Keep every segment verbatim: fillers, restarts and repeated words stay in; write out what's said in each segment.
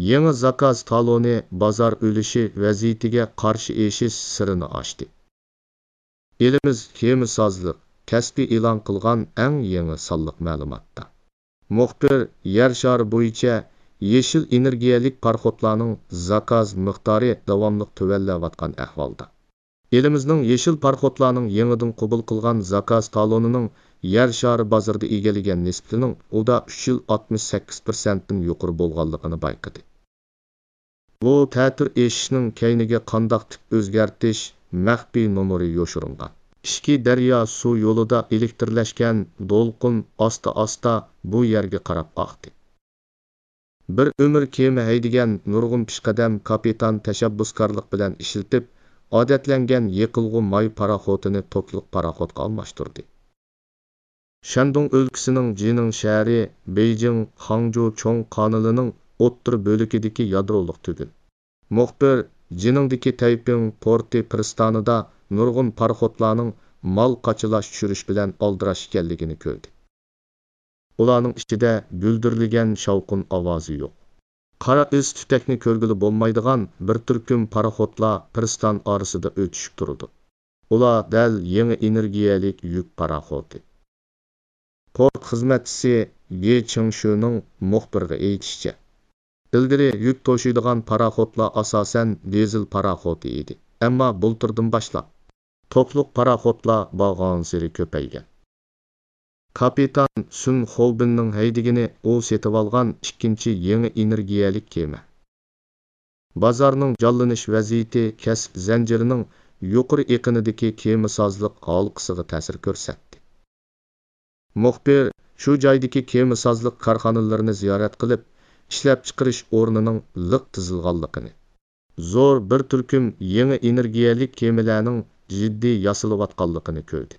يېڭى زاكاز تالونى بازار ئۈلۈشى ۋەزىيىتىگە قارشى ئېشىش سىرىنى ئاچتى. ئېلىمىز كېمىسازلىق كەسپى ئېلان قىلغان ئەڭ يېڭى سانلىق مەلۇماتتا. مۇخبىر يەر شارى بويىچە يېشىل ئېنېرگىيەلىك پاراخوتلارنىڭ زاكاز مىقدارى داۋاملىق تۆۋەنلەۋاتقان ئەھۋالدا، ئېلىمىزنىڭ يېشىل پاراخوتلارنىڭ يېڭىدىن قوبۇل قىلغان زاكاز تالونىنىڭ يەر شارى بازىرىدا ئىگىلىگەن نىسبىتىنىڭ ئۇدا ئۈچ يۈز ئاتمىش سەككىز پىرسەنتتىن يۇقىرى بولغانلىقىنى بايقىدى. بۇ تەتۈر ئېشىشنىڭ كەينىگە قانداق تىپ ئۆزگەرتىش مەخپىي نومۇرى يوشۇرۇنغان. ئىچكى دەريا سۇ يولىدا ئېلېكترلەشكەن دولقۇن ئاستا-ئاستا بۇ يەرگە قاراپ ئاقتى. بىر ئۆمۈر كېمە ھەيدىگەن نۇرغۇن پېشقەدەم كاپىتان تەشەببۇسكارلىق بىلەن ئىشلىتىپ، ئادەتلەنگەن يېقىلغۇ ماي پاراخوتىنى توكلۇق پاراخوتقا ئالماشتۇردى. شەندۇڭ ئۆلكىسىنىڭ جىنىڭ شەھىرى بېيجىڭ خاڭجۇ چوڭ قانىلىنىڭ ئوتتۇرا بۆلىكىدىكى يادرولۇق تۈگۈن. مۇخبىر جىنىڭدىكى تەيپىڭ پورتى پىرىستانىدا نۇرغۇن پاراخوتلارنىڭ مال قاچىلاش چۈشۈرۈش بىلەن ئالدىراش ئىكەنلىكىنى كۆردى. ئۇلارنىڭ ئىچىدە گۈلدۈرلىگەن شاۋقۇن ئاۋازى يوق. قارا ئىز تۈتەكنى كۆرگىلى بولمايدىغان بىر تۈركۈم پاراخوتلار پىرىستان ئارىسىدا ئۆتۈشۈپ تۇرىدۇ. ئۇلار دەل يېڭى ئېنېرگىيەلىك يۈك پاراخوتى. پورت خىزمەتچىسى گې چىڭشۈنىڭ مۇخبىرغا ئېيتىشىچە، ئىلگىرى يۈك توشۇيدىغان پاراخوتلار ئاساسەن دىزېل پاراخوتى ئىدى، ئەمما بۇلتۇردىن باشلاپ توكلۇق پاراخوتلار بارغانسېرى كۆپەيگەن. كاپىتان سۈن خوبىننىڭ ھەيدىگىنى ئۇ سېتىۋالغان ئىككىنچى يېڭى ئېنېرگىيەلىك كېمە. بازارنىڭ جانلىنىش ۋەزىيىتى كەسىپ زەنجىرىنىڭ يۇقىرى ئېقىنىدىكى كېمىسازلىق ھالقىسىغا تەسىر كۆرسەتتى. مۇخبىر شۇ جايدىكى كېمىسازلىق كارخانىلىرىنى زىيارەت قىلىپ، ئىشلەپچىقىرىش ئورنىنىڭ لىق تىزىلغانلىقىنى، زور بىر تۈركۈم يېڭى ئېنېرگىيەلىك كېمىلەرنىڭ جىددىي ياسىلىۋاتقانلىقىنى كۆردى.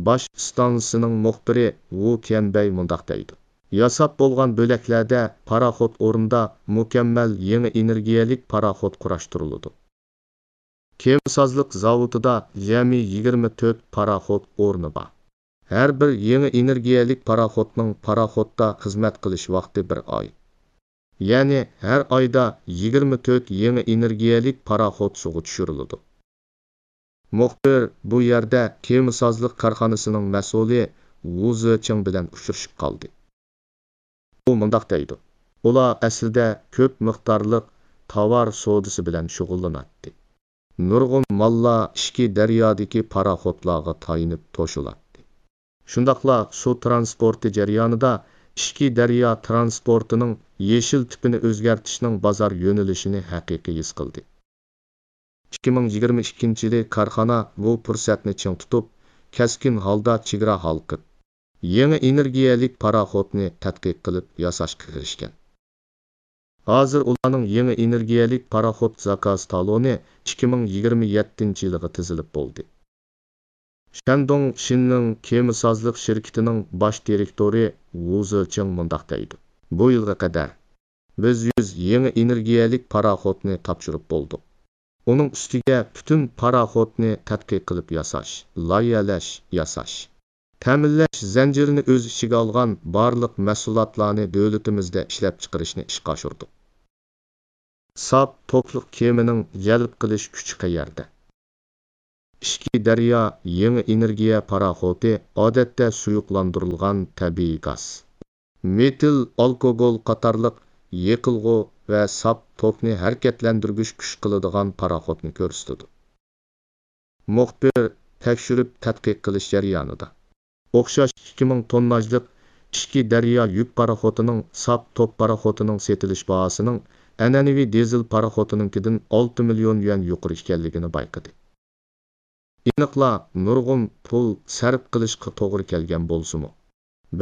باش ئىستانسىسىنىڭ مۇخبىرى ۋۇ تيەنبەي مۇنداق دەيدۇ: ياساپ بولغان بۆلەكلەردە پاراخوت ئورنىدا مۇكەممەل يېڭى ئېنېرگىيەلىك پاراخوت قۇراشتۇرۇلىدۇ. كېمىسازلىق زاۋۇتىدا جەمئىي يىگىرمە تۆت پاراخوت ئورنى بار. ھەر بىر يېڭى ئېنېرگىيەلىك پاراخوتنىڭ پاراخوتتا خىزمەت قىلىش ۋاقتى بىر ئاي. يەنى ھەر ئايدا يىگىرمە تۆت يېڭى ئېنېرگىيەلىك پاراخوت سۇغا چۈشۈرۈلىدۇ. مۇخبىر بۇ يەردە كېمىسازلىق كارخانىسىنىڭ مەسئۇلى ۋۇ زېچىڭ بىلەن ئۇچرىشىپ قالدى. ئۇ مۇنداق دەيدۇ: ئۇلار ئەسلىدە كۆپ مىقدارلىق تاۋار سودىسى بىلەن شۇغۇللىناتتى. نۇرغۇن ماللار ئىچكى دەريادىكى پاراخوتلارغا تايىنىپ توشۇلاتتى. شۇنداقلا سۇ ترانسپورتى جەريانىدا ئىچكى دەريا ترانسپورتىنىڭ يېشىل تىپىنى ئۆزگەرتىشنىڭ بازار يۆنىلىشىنى ھەقىقىي ھېس قىلدى. ئىككى مىڭ يىگىرمە ئىككىنچى يىلى كارخانا بۇ پۇرسەتنى چىڭ تۇتۇپ، كەسكىن ھالدا چېگرا ھالقىپ، يېڭى ئېنېرگىيەلىك پاراخوتنى تەتقىق قىلىپ ياساشقا كىرىشكەن. ھازىر ئۇلارنىڭ يېڭى ئېنېرگىيەلىك پاراخوت زاكاز تالونى ئىككى مىڭ يىگىرمە يەتتىنچى يىلىغا تىزىلىپ بولدى. شەندۇڭ شىننىڭ كېمىسازلىق شىركىتىنىڭ باش دىرېكتورى ۋۇ زېچىڭ مۇنداق دەيدۇ: بۇ يىلغا قەدەر بىز يۈز يېڭى ئېنېرگىيەلىك پاراخوتنى تاپشۇرۇپ بولدۇق. ئۇنىڭ ئۈستىگە پۈتۈن پاراخوتنى تەتقىق قىلىپ ياساش، لايىھەلەش، ياساش، تەمىنلەش زەنجىرىنى ئۆز ئىچىگە ئالغان بارلىق مەھسۇلاتلارنى دۆلىتىمىزدە ئىشلەپچىقىرىشنى ئىشقا ئاشۇردۇق. ساپ توكلۇق كېمىنىڭ جەلپ قىلىش كۈچى قەيەردە؟ ئىچكى دەريا يېڭى ئېنېرگىيە پاراخوتى ئادەتتە سۇيۇقلاندۇرۇلغان تەبىئىي گاز، مېتىل ئالكوگول قاتارلىق يېقىلغۇ ۋە ساپ توكنى ھەرىكەتلەندۈرگۈچ كۈچ قىلىدىغان پاراخوتنى كۆرسىتىدۇ. مۇخبىر تەكشۈرۈپ تەتقىق قىلىش جەريانىدا، ئوخشاش ئىككى مىڭ تونناژلىق ئىچكى دەريا يۈك پاراخوتىنىڭ ساپ توك پاراخوتىنىڭ سېتىلىش باھاسىنىڭ ئەنئەنىۋى دىزېل پاراخوتىنىڭكىدىن ئالتە مىليون يۈەن يۇقىرى ئىكەنلىكىنى بايقىدى. ئېنىقلا نۇرغۇن پۇل سەرپ قىلىشقا توغرا كەلگەن بولسىمۇ،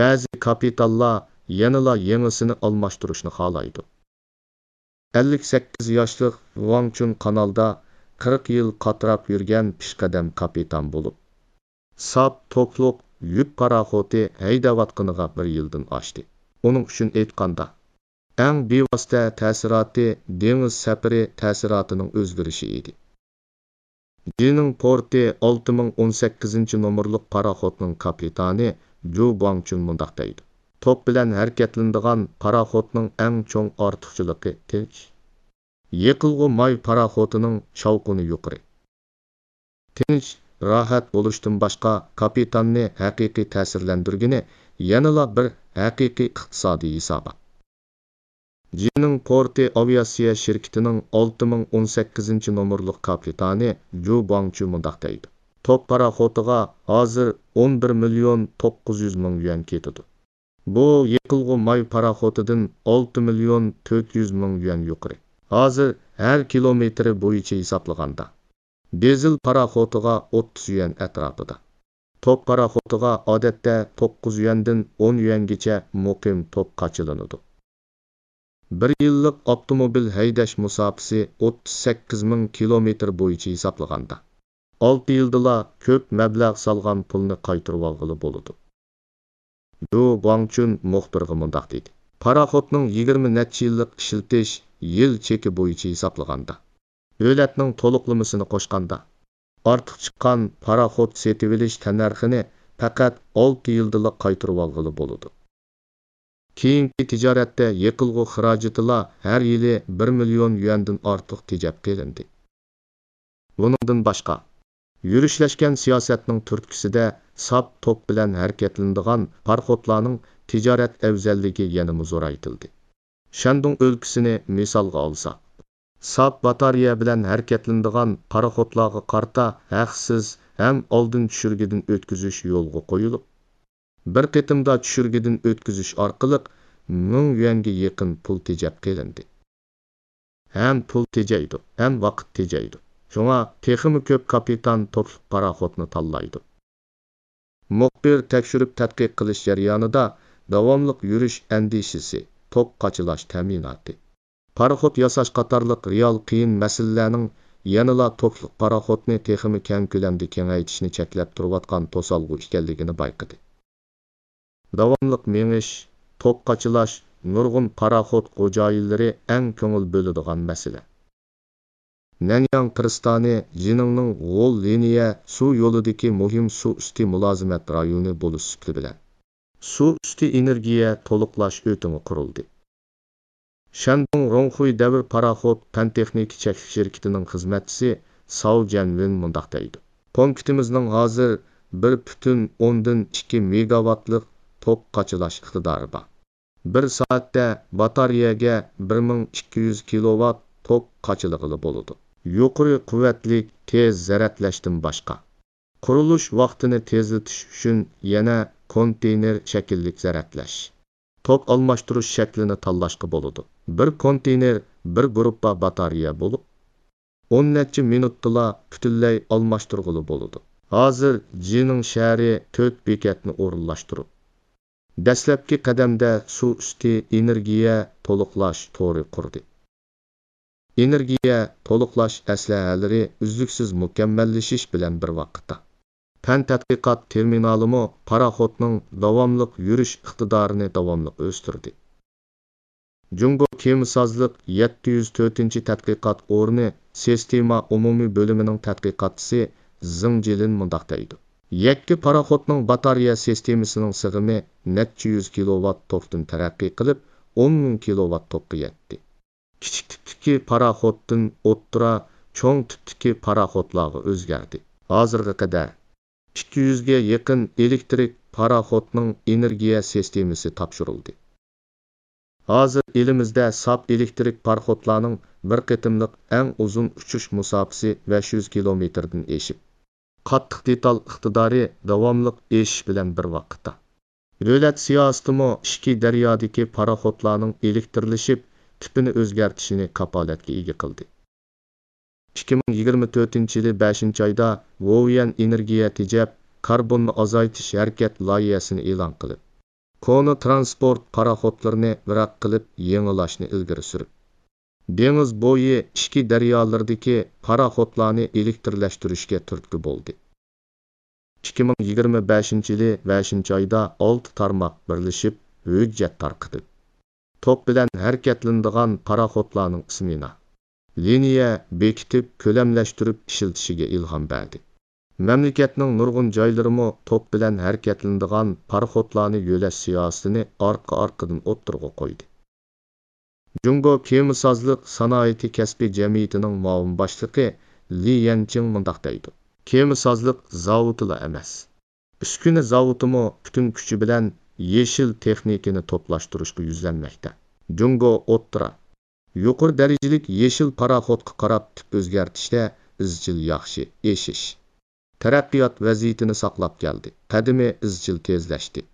بەزى كاپىتاللار يەنىلا يېڭىسىنى ئالماشتۇرۇشنى خالايدۇ. ئەللىك سەككىز ياشلىق ۋاڭ چۈن قانالدا قىرىق يىل قاتراپ يۈرگەن پېشقەدەم كاپىتان بولۇپ، ساپ توكلۇق يۈك پاراخوتى ھەيدەۋاتقىنىغا بىر يىلدىن ئاشتى. ئۇنىڭ ئۈچۈن ئېيتقاندا، ئەڭ بىۋاسىتە تەسىراتى دېڭىز سەپىرى تەسىراتىنىڭ ئۆزگىرىشى ئىدى. جىنىڭ پورتى ئالتە مىڭ ئون سەككىزىنچى نومۇرلۇق پاراخوتنىڭ كاپىتانى جۇ گۇاڭچۈن مۇنداق دەيدۇ: توك بىلەن ھەرىكەتلىنىدىغان پاراخوتنىڭ ئەڭ چوڭ ئارتۇقچىلىقى تىنچ. يېقىلغۇ ماي پاراخوتىنىڭ شاۋقۇنى يۇقىرى. تىنچ، راھەت بولۇشتىن باشقا، كاپىتاننى ھەقىقىي تەسىرلەندۈرگىنى يەنىلا بىر ھەقىقىي ئىقتىسادىي ھېسابات. جىنىڭ پورتى ئاۋىئاتسىيە شىركىتىنىڭ ئالتە مىڭ ئون سەككىزىنچى نومۇرلۇق كاپىتانى جۇ گۇاڭچۈ مۇنداق دەيدۇ: توك پاراخوتىغا ھازىر ئون بىر مىليون توققۇز يۈز مىڭ يۈەن كېتىدۇ. بۇ يېقىلغۇ ماي پاراخوتىدىن ئالتە مىليون تۆت يۈز مىڭ يۈەن يۇقىرى. ھازىر ھەر كىلومېتىرى بويىچە ھېسابلىغاندا، دىزېل پاراخوتىغا ئوتتۇز يۈەن ئەتراپىدا. توك پاراخوتىغا ئادەتتە توققۇز يۈەندىن ئون يۈەنگىچە مۇقىم توك قاچىلىنىدۇ. بىر يىللىق ئاپتوموبىل ھەيدەش مۇساپىسى ئوتتۇز سەككىز مىڭ كىلومېتىر بويىچە ھېسابلىغاندا، ئالتە يىلدىلا كۆپ مەبلەغ سالغان پۇلنى قايتۇرۇۋالغىلى بولىدۇ. جۇ گۇاڭچۈن مۇخبىرغا مۇنداق دېدى: پاراخوتنىڭ يىگىرمە نەچچە يىللىق ئىشلىتىش يىل چېكى بويىچە ھېسابلىغاندا، دۆلەتنىڭ تولۇقلىمىسىنى قوشقاندا، ئارتۇق چىققان پاراخوت سېتىۋېلىش تەننەرخىنى پەقەت ئالتە يىلدىلا قايتۇرۇۋالغىلى بولىدۇ. كېيىنكى تىجارەتتە يېقىلغۇ خىراجىتىلا ھەر يىلى بىر مىليون يۈەندىن ئارتۇق تېجەپ قېلىندى. بۇنىڭدىن باشقا، يۈرۈشلەشكەن سىياسەتنىڭ تۈرتكىسىدە ساپ توك بىلەن ھەرىكەتلىنىدىغان پاراخوتلارنىڭ تىجارەت ئەۋزەللىكى يەنىمۇ زورايتىلدى. شەندۇڭ ئۆلكىسىنى مىسالغا ئالساق، ساپ باتارېيە بىلەن ھەرىكەتلىنىدىغان پاراخوتلارغا قارىتا ھەقسىز ھەم ئالدىن چۈشۈرگىدىن ئۆتكۈزۈش يولغا قويۇلۇپ، بىر قېتىمدا چۈشۈرگىدىن ئۆتكۈزۈش ئارقىلىق مىڭ يۈەنگە يېقىن پۇل تېجەپ قېلىندى. ھەم پۇل تېجەيدۇ، ھەم ۋاقىت تېجەيدۇ. شۇڭا تېخىمۇ كۆپ كاپىتان توكلۇق پاراخوتنى تاللايدۇ. مۇخبىر تەكشۈرۈپ تەتقىق قىلىش جەريانىدا داۋاملىق يۈرۈش ئەندىشىسى، توك قاچىلاش تەمىناتى، پاراخوت ياساش قاتارلىق رېئال قىيىن مەسىلىلەرنىڭ يەنىلا توكلۇق پاراخوتنى تېخىمۇ كەڭ كۆلەمدە كېڭەيتىشنى چەكلەپ تۇرۇۋاتقان توسالغۇ ئىكەنلىكىنى بايقىدى. داۋاملىق مېڭىش، توك قاچىلاش نۇرغۇن پاراخوت خوجايىنلىرى ئەڭ كۆڭۈل بۆلىدىغان مەسىلە. نەنياڭ پىرىستانى جىنىڭنىڭ غول لىنىيە سۇ يولىدىكى مۇھىم سۇ ئۈستى مۇلازىمەت رايونى بولۇش سۈپىتى بىلەن، سۇ ئۈستى ئېنېرگىيە تولۇقلاش ئۆتىڭى قۇرۇلدى. شەندۇڭ روڭخۇي دەۋر پاراخوت پەن-تېخنىكا چەكلىك شىركىتىنىڭ خىزمەتچىسى ساۋ جەنۋېن مۇنداق دەيدۇ: پونكىتىمىزنىڭ ھازىر بىر پۈتۈن ئوندىن ئىككى مېگاۋاتلىق توك قاچىلاش ئىقتىدارى بار. بىر سائەتتە باتارېيەگە بىر مىڭ ئىككى يۈز كىلوۋات توك قاچىلىغىلى بولىدۇ. يۇقىرى قۇۋۋەتلىك تېز زەرەتلەشتىن باشقا، قۇرۇلۇش ۋاقتىنى تېزلىتىش ئۈچۈن يەنە كونتېينېر شەكىللىك زەرەتلەش، توك ئالماشتۇرۇش شەكلىنى تاللاشقا بولىدۇ. بىر كونتېينېر بىر گۇرۇپپا باتارېيە بولۇپ، ئون نەچچە مىنۇتتىلا پۈتۈنلەي ئالماشتۇرغىلى بولىدۇ. ھازىر جىنىڭ شەھىرى تۆت بېكەتنى ئورۇنلاشتۇرۇپ، دەسلەپكى قەدەمدە سۇ ئۈستى ئېنېرگىيە تولۇقلاش تورى قۇردى. ئېنېرگىيە تولۇقلاش ئەسلىھەلىرى ئۈزلۈكسىز مۇكەممەللىشىش بىلەن بىر ۋاقىتتا، پەن تەتقىقات تېرمىنالىمۇ پاراخوتنىڭ داۋاملىق يۈرۈش ئىقتىدارىنى داۋاملىق ئۆستۈردى. جۇڭگو كېمىسازلىق يەتتە يۈز تۆتىنچى تەتقىقات ئورنى سىستېما ئومۇمىي بۆلۈمىنىڭ تەتقىقاتچىسى زېڭ جىلىن مۇنداق دەيدۇ: يەككە پاراخوتنىڭ باتارېيە سىستېمىسىنىڭ سىغىمى نەچچە يۈز كىلوۋات توكتىن تەرەققىي قىلىپ، ئون مىڭ كىلوۋات توكقا يەتتى. كىچىك تىپتىكى پاراخوتتىن ئوتتۇرا، چوڭ تىپتىكى پاراخوتلارغا ئۆزگەردى. ھازىرغا قەدەر ئىككى يۈزگە يېقىن ئېلېكتىرىك پاراخوتنىڭ ئېنېرگىيە سىستېمىسى تاپشۇرۇلدى. ھازىر ئېلىمىزدە ساپ ئېلېكتىرىك پاراخوتلارنىڭ بىر قېتىملىق ئەڭ ئۇزۇن ئۇچۇش مۇساپىسى بەش يۈز كىلومېتىردىن ئېشىپ، قاتتىق دېتال ئىقتىدارى داۋاملىق ئېشىش بىلەن بىر ۋاقىتتا، دۆلەت سىياسىتىمۇ ئىچكى دەريادىكى پاراخوتلارنىڭ ئېلېكتىرلىشىپ، تىپىنى ئۆزگەرتىشىنى كاپالەتكە ئىگە قىلدى. ئىككى مىڭ يىگىرمە تۆتىنچى يىلى بەشىنچى ئايدا ۋوۋيەن ئېنېرگىيە تېجەپ، كاربوننى ئازايتىش ھەرىكەت لايىھەسىنى ئېلان قىلىپ، كونا تىرانسپورت پاراخوتلىرىنى ۋىراق قىلىپ يېڭىلاشنى ئىلگىرى سۈرۈپ، دېڭىز بويى ئىچكى دەريالىرىدىكى پاراخوتلارنى ئېلېكتىرلەشتۈرۈشكە تۈرتكە بولدى. ئىككى مىڭ يىگىرمە بەشىنچى يىلى بەشىنچى ئايدا ئالتە تارماق بىرلىشىپ ھۆججەت تارقىتىپ، توك بىلەن ھەرىكەتلىنىدىغان پاراخوتلارنىڭ ئىسمېنا، لىنىيە بېكىتىپ، كۆلەملەشتۈرۈپ ئىشلىتىشىگە ئىلھام بەردى. مەملىكەتنىڭ نۇرغۇن جايلىرىمۇ توپ بىلەن ھەرىكەتلىنىدىغان پاراخوتلارنى يۆلەش سىياسىتىنى ئارقا-ئارقىدىن ئوتتۇرىغا قويدى. جۇڭگو كېمىسازلىق سانائىتى كەسپىي جەمئىيىتىنىڭ مۇئاۋىن باشلىقى لى يەنچىڭ مۇنداق دەيدۇ: كېمىسازلىق زاۋۇتىلا ئەمەس، ئۈسكۈنە زاۋۇتىمۇ پۈتۈن كۈچى بىلەن يېشىل تېخنىكىنى توپلاشتۇرۇشقا يۈزلەنمەكتە. جۇڭگو ئوتتۇرا، يۇقىرى دەرىجىلىك يېشىل پاراخوتقا قاراپ تىپ ئۆزگەرتىشتە ئىزچىل ياخشى ئېشىش، تەرەققىيات ۋەزىيىتىنى ساقلاپ كەلدى، قەدىمى ئىزچىل تېزلەشتى.